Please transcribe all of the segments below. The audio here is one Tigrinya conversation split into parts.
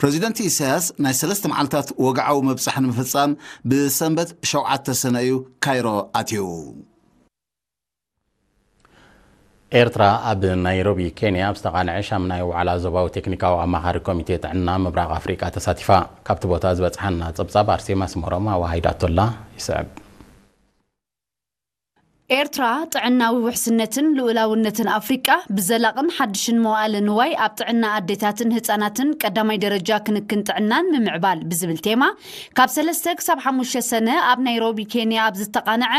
ፕረዚደንት ኢሳያስ ናይ ሰለስተ መዓልታት ወግዓዊ መብጻሕ ንምፍጻም ብሰንበት ሸውዓተ ሰነ እዩ ካይሮ ኣትዩ። ኤርትራ ኣብ ናይሮቢ ኬንያ ኣብ ዝተቓንዐ ሻምናይ ዋዕላ ዞባዊ ቴክኒካዊ ኣማኻሪ ኮሚቴ ጥዕና ምብራቕ ኣፍሪቃ ተሳቲፋ። ካብቲ ቦታ ዝበጽሓና ጸብጻብ ኣርሴማ ስመሮም ኣዋሃይዳቶላ ይስዕብ። ኤርትራ ጥዕናዊ ውሕስነትን ልኡላውነትን ኣፍሪቃ ብዘላቕን ሓድሽን መዋእለ ንዋይ ኣብ ጥዕና ኣዴታትን ህጻናትን ቀዳማይ ደረጃ ክንክን ጥዕናን ምምዕባል ብዝብል ቴማ ካብ ሰለስተ ክሳብ ሓሙሽተ ሰነ ኣብ ናይሮቢ ኬንያ ኣብ ዝተቓንዐ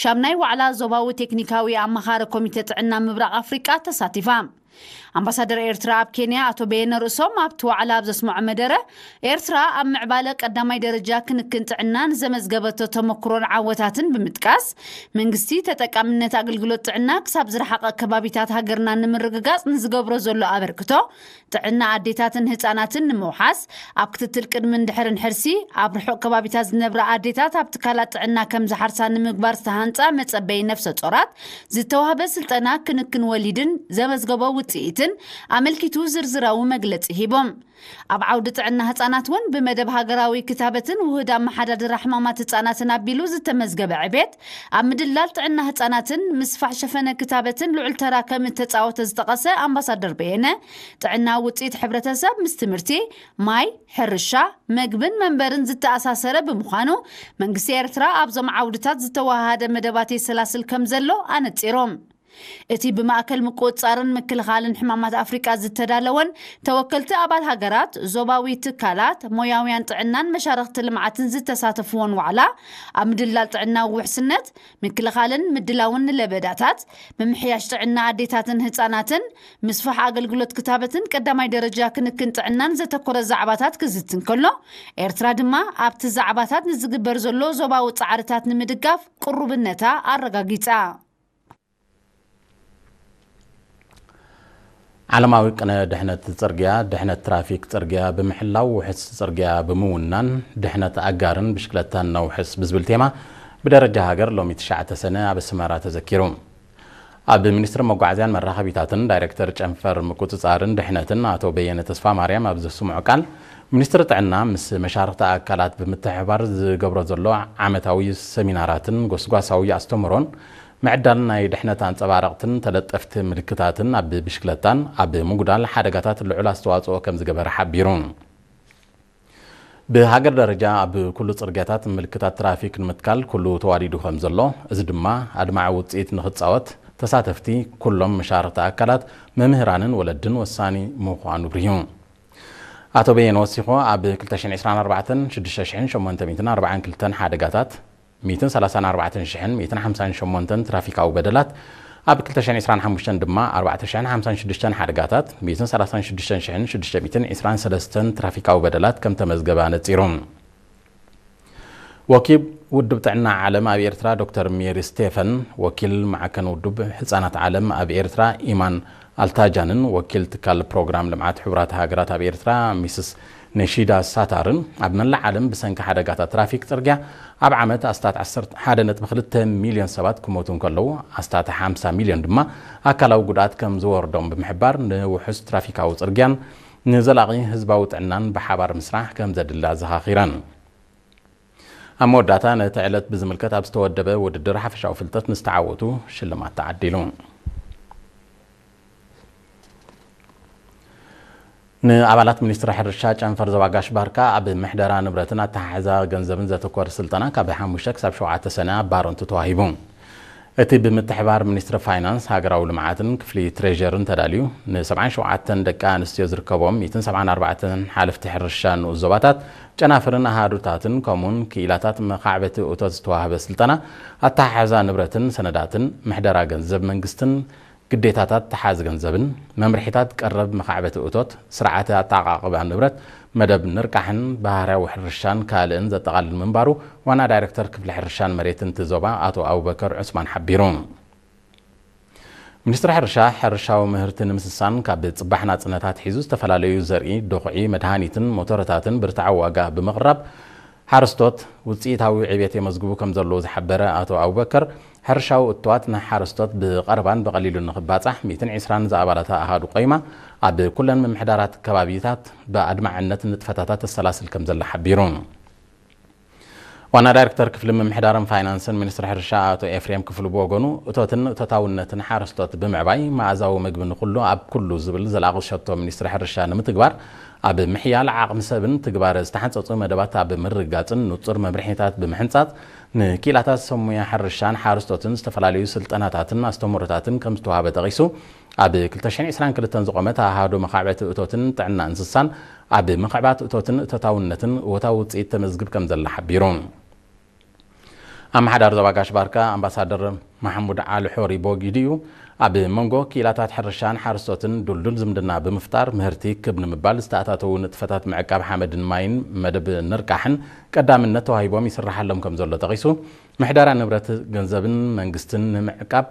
ሻምናይ ዋዕላ ዞባዊ ቴክኒካዊ ኣማኻሪ ኮሚቴ ጥዕና ምብራቕ ኣፍሪቃ ተሳቲፋ። ኣምባሳደር ኤርትራ ኣብ ኬንያ ኣቶ በየነ ርእሶም ኣብቲ ዋዕላ ኣብ ዘስምዖ መደረ፣ ኤርትራ ኣብ ምዕባለ ቀዳማይ ደረጃ ክንክን ጥዕና ንዘመዝገበቶ ተመክሮን ዓወታትን ብምጥቃስ፣ መንግስቲ ተጠቃምነት ኣገልግሎት ጥዕና ክሳብ ዝረሓቐ ከባቢታት ሃገርና ንምርግጋጽ ንዝገብሮ ዘሎ ኣበርክቶ፣ ጥዕና ኣዴታትን ህጻናትን ንምውሓስ፣ ኣብ ክትትል ቅድምን ድሕርን ሕርሲ፣ ኣብ ርሑቕ ከባቢታት ዝነብራ ኣዴታት ኣብ ትካላት ጥዕና ከም ዝሓርሳ ንምግባር ዝተሃንጻ መጸበዪ ነፍሰ ጾራት ዝተዋህበ ስልጠና ክንክን ወሊድን ዘመዝገቦ ውጽኢትን ኣመልኪቱ ዝርዝራዊ መግለጺ ሂቦም። ኣብ ዓውዲ ጥዕና ህጻናት እውን ብመደብ ሃገራዊ ክታበትን ውህድ ኣመሓዳድራ ሕማማት ህጻናትን ኣቢሉ ዝተመዝገበ ዕቤት ኣብ ምድላል ጥዕና ህጻናትን ምስፋሕ ሸፈነ ክታበትን ልዑል ተራ ከም እተጻወተ ዝጠቐሰ ኣምባሳደር በየነ፣ ጥዕና ውጽኢት ሕብረተሰብ ምስ ትምህርቲ፣ ማይ፣ ሕርሻ፣ መግብን መንበርን ዝተኣሳሰረ ብምዃኑ፣ መንግስቲ ኤርትራ ኣብዞም ዓውድታት ዝተወሃሃደ መደባት የሰላስል ከም ዘሎ ኣነጺሮም። እቲ ብማእከል ምቁጽጻርን ምክልኻልን ሕማማት ኣፍሪቃ ዝተዳለወን ተወከልቲ ኣባል ሃገራት፣ ዞባዊ ትካላት፣ ሞያውያን ጥዕናን መሻርኽቲ ልምዓትን ዝተሳተፍዎን ዋዕላ፣ ኣብ ምድላል ጥዕናዊ ውሕስነት፣ ምክልኻልን ምድላውን ንለበዳታት፣ ምምሕያሽ ጥዕና ኣዴታትን ህጻናትን፣ ምስፋሕ ኣገልግሎት ክታበትን ቀዳማይ ደረጃ ክንክን ጥዕናን ዘተኮረ ዛዕባታት ክዝትን ከሎ፣ ኤርትራ ድማ ኣብቲ ዛዕባታት ንዝግበር ዘሎ ዞባዊ ጻዕርታት ንምድጋፍ ቅሩብነታ ኣረጋጊጻ። ዓለማዊ ቅነ ድሕነት ጽርግያ፣ ድሕነት ትራፊክ ጽርግያ ብምሕላው ውሕስ ጽርግያ ብምውናን ድሕነት ኣጋርን ብሽክለታን ነውሕስ ብዝብል ቴማ ብደረጃ ሃገር ሎሚ ትሽዓተ ሰነ ኣብ ኣስመራ ተዘኪሩ። ኣብ ሚኒስትሪ መጓዓዝያን መራኸቢታትን ዳይሬክተር ጨንፈር ምቁጽጻርን ድሕነትን ኣቶ በየነ ተስፋ ማርያም ኣብ ዘስምዖ ቃል፣ ሚኒስትሪ ጥዕና ምስ መሻርኽቲ ኣካላት ብምትሕብባር ዝገብሮ ዘሎ ዓመታዊ ሰሚናራትን ጎስጓሳዊ ኣስተምህሮን ምዕዳል ናይ ድሕነት ኣንጸባረቕትን ተለጠፍቲ ምልክታትን ኣብ ብሽክለታን ኣብ ምጉዳል ሓደጋታት ልዑል ኣስተዋጽኦ ከም ዝገበረ ሓቢሩ። ብሃገር ደረጃ ኣብ ኩሉ ጽርግያታት ምልክታት ትራፊክ ንምትካል ኩሉ ተዋዲዱ ከም ዘሎ፣ እዚ ድማ ኣድማዒ ውጽኢት ንኽጻወት ተሳተፍቲ ኩሎም መሻርኽቲ ኣካላት፣ መምህራንን ወለድን ወሳኒ ምዃኑ ብሪሁ። ኣቶ በየነ ወሲኹ፣ ኣብ ክልተ ሽሕን ዕስራን ኣርባዕተን ሽዱሽተ ሽሕን ሸሞንተ ሚእትን ኣርባዓን ክልተን ሓደጋታት፣ ሚእትን ሰላሳን ኣርባዕተን ሽሕን ሚእትን ሓምሳን ሸሞንተን ትራፊካዊ በደላት፣ ኣብ ክልተ ሽሕን ዕስራን ሓሙሽተን ድማ ኣርባዕተ ሽሕን ሓምሳን ሽዱሽተን ሓደጋታት፣ ሚእትን ሰላሳን ሽዱሽተ ሽሕን ሽዱሽተ ሚእትን ዕስራን ሰለስተን ትራፊካዊ በደላት ከም ተመዝገበ ኣነጺሩ። ወኪል ውድብ ጥዕና ዓለም ኣብ ኤርትራ ዶክተር ሜሪ ስቴፈን፣ ወኪል ማዕከን ውድብ ህጻናት ዓለም ኣብ ኤርትራ ኢማን ኣልታጃንን ወኪል ትካል ፕሮግራም ልምዓት ሕቡራት ሃገራት ኣብ ኤርትራ ሚስስ ነሺዳ ሳታርን፣ ኣብ መላእ ዓለም ብሰንኪ ሓደጋታት ትራፊክ ጽርግያ ኣብ ዓመት ኣስታት ዓሰርተ ሓደ ነጥቢ ክልተ ሚልዮን ሰባት ክሞቱ እንከለዉ፣ ኣስታት ሓምሳ ሚልዮን ድማ ኣካላዊ ጉድኣት ከም ዝወርዶም ብምሕባር፣ ንውሑስ ትራፊካዊ ጽርግያን ንዘላቒ ህዝባዊ ጥዕናን ብሓባር ምስራሕ ከም ዘድሊ ኣዘኻኺረን። ኣብ መወዳእታ፣ ነቲ ዕለት ብዝምልከት ኣብ ዝተወደበ ውድድር ሓፈሻዊ ፍልጠት ንዝተዓወቱ ሽልማት ተዓዲሉ። ንኣባላት ሚኒስትሪ ሕርሻ ጨንፈር ዞባ ጋሽ ባርካ ኣብ ምሕደራ ንብረትን ኣተሓሕዛ ገንዘብን ዘተኮረ ስልጠና ካብ ሓሙሽተ ክሳብ ሸውዓተ ሰነ ኣብ ባረንቱ ተዋሂቡ። እቲ ብምትሕባር ሚኒስትሪ ፋይናንስ፣ ሃገራዊ ልምዓትን ክፍሊ ትሬዠርን ተዳልዩ፣ ንሰብዓን ሸውዓተን ደቂ ኣንስትዮ ዝርከቦም ሚእትን ሰብዓን ኣርባዕተን ሓለፍቲ ሕርሻ ንኡስ ዞባታት፣ ጨናፍርን ኣሃዱታትን ከምኡውን ክኢላታት መኻዕበቲ እቶት ዝተዋህበ ስልጠና ኣተሓሕዛ ንብረትን ሰነዳትን፣ ምሕደራ ገንዘብ መንግስትን ግዴታታት ተሓዚ ገንዘብን፣ መምርሒታት ቀረብ መኻዕበቲ እቶት፣ ስርዓተ ኣተዓቓቕባ ንብረት፣ መደብ ንርቃሕን ባህርያዊ ሕርሻን ካልእን ዘጠቓልል ምንባሩ ዋና ዳይሬክተር ክፍሊ ሕርሻን መሬትን እቲ ዞባ ኣቶ ኣቡበከር ዑስማን ሓቢሩ። ሚኒስትሪ ሕርሻ፣ ሕርሻዊ ምህርቲ ንምስሳን ካብ ጽባሕ ናጽነት ኣትሒዙ ዝተፈላለዩ ዘርኢ፣ ዶኽዒ፣ መድሃኒትን ሞተረታትን ብርትዓዊ ዋጋ ብምቕራብ ሓረስቶት ውጽኢታዊ ዕቤት የመዝግቡ ከም ዘለዉ ዝሓበረ ኣቶ ኣቡበከር፣ ሕርሻዊ እትዋት ንሓረስቶት ብቐረባን ብቐሊሉን ንኽባጻሕ ሚእትን ዕስራን ዝኣባላታ ኣሃዱ ቆይማ ኣብ ኩለን ምምሕዳራት ከባቢታት ብኣድማዕነት ንጥፈታታት ተሰላስል ከም ዘላ ሓቢሩ። ዋና ዳይሬክተር ክፍሊ ምምሕዳርን ፋይናንስን ሚኒስትሪ ሕርሻ ኣቶ ኤፍሬም ክፍሉ ብወገኑ፣ እቶትን እቶታውነትን ሓረስቶት ብምዕባይ መኣዛዊ ምግቢ ንኹሉ ኣብ ኩሉ ዝብል ዘላቒ ሸቶ ሚኒስትሪ ሕርሻ ንምትግባር፣ ኣብ ምሕያል ዓቕሚ ሰብን ትግባረ ዝተሓንጸጹ መደባት ኣብ ምርግጋጽን ንጹር መምርሒታት ብምሕንጻጽ፣ ንኪላታት ሰሙያ ሕርሻን ሓረስቶትን ዝተፈላለዩ ስልጠናታትን ኣስተምህሮታትን ከም ዝተዋሃበ ጠቒሱ፣ ኣብ ክልተ ሽሕን ዕስራን ክልተን ዝቖመት ኣሃዱ መኻዕበቲ እቶትን ጥዕና እንስሳን ኣብ ምኽዕባት እቶትን እቶታውነትን እወታዊ ውጽኢት ተመዝግብ ከም ዘላ ሓቢሩ። ኣመሓዳሪ ዞባ ጋሽ ባርካ ኣምባሳደር ማሕሙድ ዓሊ ሖሪ ቦጊድዩ፣ ኣብ መንጎ ክኢላታት ሕርሻን ሓረስቶትን ድልዱል ዝምድና ብምፍጣር፣ ምህርቲ ክብ ንምባል ዝተኣታተዉ ንጥፈታት ምዕቃብ ሓመድን ማይን መደብ ንርቃሕን ቀዳምነት ተዋሂቦም ይስራሓሎም ከም ዘሎ ጠቒሱ፣ ምሕደራ ንብረት ገንዘብን መንግስትን ንምዕቃብ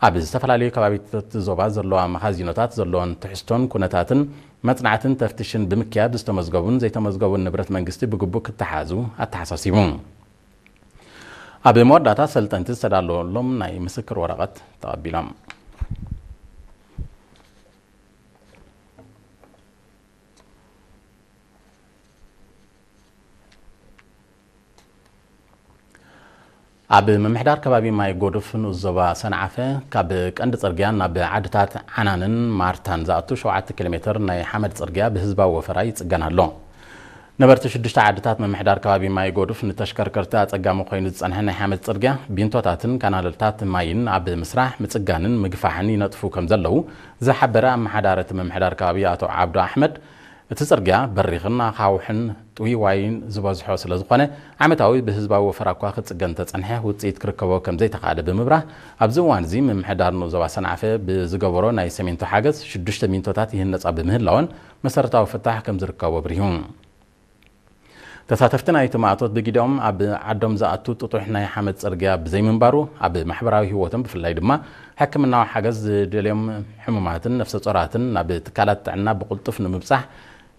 ኣብ ዝተፈላለዩ ከባቢታት ዞባ ዘለዋ መኻዚኖታት ዘለወን ትሕዝቶን ኩነታትን መጽናዕትን ተፍትሽን ብምክያድ ዝተመዝገቡን ዘይተመዝገቡን ንብረት መንግስቲ ብግቡእ ክተሓዙ ኣተሓሳሲቡ። ኣብ መወዳእታ ሰልጠንቲ ዝተዳለወሎም ናይ ምስክር ወረቐት ተቐቢሎም። ኣብ ምምሕዳር ከባቢ ማይ ጎዱፍ ንኡስ ዞባ ሰንዓፈ ካብ ቀንዲ ጽርግያ ናብ ዓድታት ዓናንን ማርታን ዝኣቱ ሸውዓተ ኪሎ ሜትር ናይ ሓመድ ጽርግያ ብህዝባዊ ወፈራ ይጽገን ኣሎ። ነበርቲ ሽዱሽተ ዓድታት ምምሕዳር ከባቢ ማይ ጎዱፍ ንተሽከርከርቲ ኣጸጋሚ ኮይኑ ዝጸንሐ ናይ ሓመድ ጽርግያ፣ ቢንቶታትን ካናልታት ማይን ኣብ ምስራሕ፣ ምጽጋንን ምግፋሕን ይነጥፉ ከም ዘለዉ ዝሓበረ ኣመሓዳሪ እቲ ምምሕዳር ከባቢ ኣቶ ዓብዱ ኣሕመድ፣ እቲ ጽርግያ በሪኽን ኣኻውሕን ጥውይዋይን ዝበዝሖ ስለ ዝኾነ፣ ዓመታዊ ብህዝባዊ ወፈራ እኳ ክጽገን እንተጸንሐ፣ ውጽኢት ክርከቦ ከም ዘይተኻእለ ብምብራህ፣ ኣብዚ እዋን እዚ ምምሕዳር ንኡስ ዞባ ሰንዓፈ ብዝገበሮ ናይ ሰሜንቶ ሓገዝ፣ ሽዱሽተ ሚንቶታት ይህነጻ ብምህላወን፣ መሰረታዊ ፍታሕ ከም ዝርከቦ ኣብሪሁ። ተሳተፍቲ ናይቲ ማእቶት ብግዲኦም፣ ኣብ ዓዶም ዝኣቱ ጥጡሕ ናይ ሓመድ ጽርግያ ብዘይምንባሩ፣ ኣብ ማሕበራዊ ህይወቶም፣ ብፍላይ ድማ ሕክምናዊ ሓገዝ ዝደልዮም ሕሙማትን ነፍሰ ጾራትን ናብ ትካላት ጥዕና ብቕልጡፍ ንምብጻሕ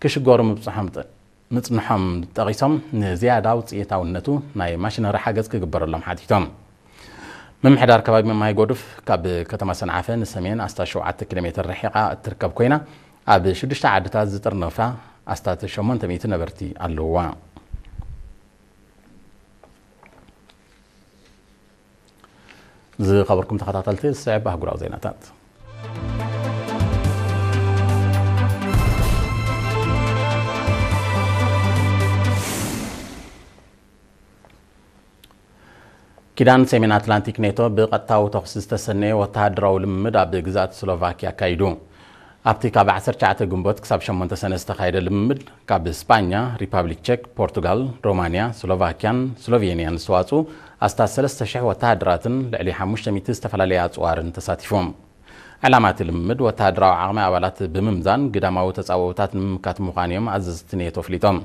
ክሽገሩ ምብጽሖም ጠ-፣ ምጽንሖም ጠቒሶም፣ ንዝያዳ ውጽኢታውነቱ ናይ ማሽነሪ ሓገዝ ክግበረሎም ሓቲቶም። ምምሕዳር ከባቢ ማይ ጎዱፍ ካብ ከተማ ሰንዓፈ ንሰሜን ኣስታት ሸውዓተ ኪሎ ሜትር ርሒቓ እትርከብ ኮይና፣ ኣብ ሽዱሽተ ዓድታት ዝጥርነፋ ኣስታት ሸሞንተ ሚእቲ ነበርቲ ኣለውዋ። ዝኸበርኩም ተኸታተልቲ፣ ዝስዕብ ኣህጉራዊ ዜናታት። ኪዳን ሰሜን ኣትላንቲክ ኔቶ ብቐጥታዊ ተኹሲ ዝተሰነየ ወተሃደራዊ ልምምድ ኣብ ግዝኣት ስሎቫኪያ ኣካይዱ። ኣብቲ ካብ ዓሰርተ ትሽዓተ ግንቦት ክሳብ ሸሞንተ ሰነ ዝተኻየደ ልምምድ፣ ካብ ስጳኛ፣ ሪፓብሊክ ቸክ፣ ፖርቱጋል፣ ሮማንያ፣ ስሎቫኪያን ስሎቬንያን ዝተዋጽኡ ኣስታት ሰለስተ ሽሕ ወተሃደራትን ልዕሊ ሓሙሽተ ሚእቲ ዝተፈላለያ ኣጽዋርን ተሳቲፎም። ዕላማ እቲ ልምምድ ወተሃደራዊ ዓቕሚ ኣባላት ብምምዛን ግዳማዊ ተጻብኦታት ንምምካት ምዃኑ እዮም ኣዘዝቲ ኔቶ ኣፍሊጦም።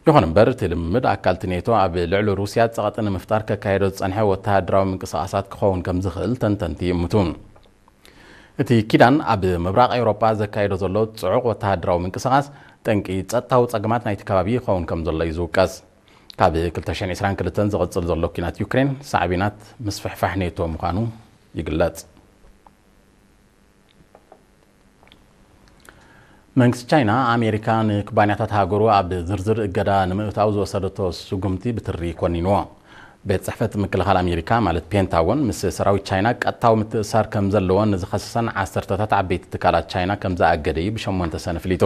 ይኹን እምበር፣ እቲ ልምምድ ኣካል እቲ ኔቶ ኣብ ልዕሊ ሩስያ ጸቕጢ ንምፍጣር ከካየዶ ዝጸንሐ ወተሃደራዊ ምንቅስቓሳት ክኸውን ከም ዝኽእል ተንተንቲ ይእምቱ። እቲ ኪዳን ኣብ ምብራቕ ኤውሮጳ ዘካየዶ ዘሎ ጽዑቕ ወተሃደራዊ ምንቅስቓስ፣ ጠንቂ ጸጥታዊ ጸገማት ናይቲ ከባቢ ይኸውን ከም ዘሎ እዩ ዝውቀስ። ካብ ክልተ ሽሕን ዕስራን ክልተን ዝቕጽል ዘሎ ኲናት ዩክሬን፣ ሳዕቤናት ምስፍሕፋሕ ኔቶ ምዃኑ ይግለጽ። መንግስቲ ቻይና፣ ኣሜሪካ ንኩባንያታት ሃገሩ ኣብ ዝርዝር እገዳ ንምእታው ዝወሰደቶ ስጉምቲ ብትሪ ኮኒንዎ። ቤት ጽሕፈት ምክልኻል ኣሜሪካ፣ ማለት ፔንታጎን፣ ምስ ሰራዊት ቻይና ቀጥታዊ ምትእስሳር ከም ዘለዎን ንዝኸሰሰን ዓሰርተታት ዓበይቲ ትካላት ቻይና ከም ዝኣገደ እዩ ብሸሞንተ ሰነ ኣፍሊጡ።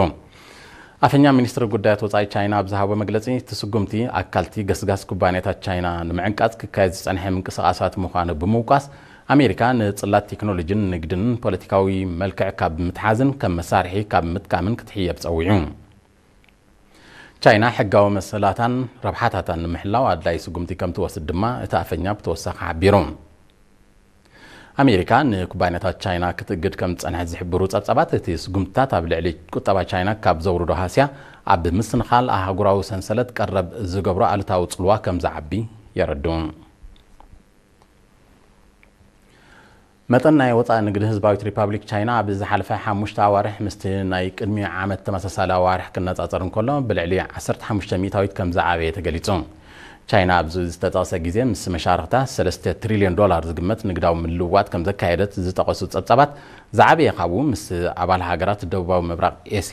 ኣፈኛ ሚኒስትሪ ጉዳያት ወጻኢ ቻይና ኣብ ዝሃቦ መግለጺ፣ እቲ ስጉምቲ ኣካልቲ ገስጋስ ኩባንያታት ቻይና ንምዕንቃጽ ክካየድ ዝጸንሐ ምንቅስቓሳት ምዃኑ ብምውቃስ፣ ኣሜሪካ ንጽላት ቴክኖሎጂን ንግድን ፖለቲካዊ መልክዕ ካብ ምትሓዝን ከም መሳርሒ ካብ ምጥቃምን ክትሕየብ ጸዊዑ። ቻይና ሕጋዊ መሰላታን ረብሓታታን ንምሕላው ኣድላይ ስጉምቲ ከም ትወስድ ድማ እቲ ኣፈኛ ብተወሳኺ ሓቢሩ። ኣሜሪካ ንኩባንያታት ቻይና ክትእግድ ከም ዝጸንሐት ዝሕብሩ ጸብጻባት፣ እቲ ስጉምትታት ኣብ ልዕሊ ቁጠባ ቻይና ካብ ዘውርዶ ሃስያ ኣብ ምስንኻል ኣህጉራዊ ሰንሰለት ቀረብ ዝገብሮ ኣሉታዊ ጽልዋ ከም ዝዓቢ የረድኡ። መጠን ናይ ወጻኢ ንግዲ ህዝባዊት ሪፓብሊክ ቻይና ኣብ ዝሓለፈ ሓሙሽተ ኣዋርሕ ምስቲ ናይ ቅድሚ ዓመት ተመሳሳሊ ኣዋርሕ ክነጻጸር እንከሎ፣ ብልዕሊ ዓሰርተ ሓሙሽተ ሚእታዊት ከም ዝዓበየ ተገሊጹ። ቻይና ኣብዚ ዝተጠቕሰ ግዜ ምስ መሻርኽታ ሰለስተ ትሪልዮን ዶላር ዝግመት ንግዳዊ ምልውዋጥ ከም ዘካየደት ዝጠቐሱ ጸብጻባት፣ ዝዓበየ ካብኡ ምስ ኣባል ሃገራት ደቡባዊ ምብራቕ ኤስያ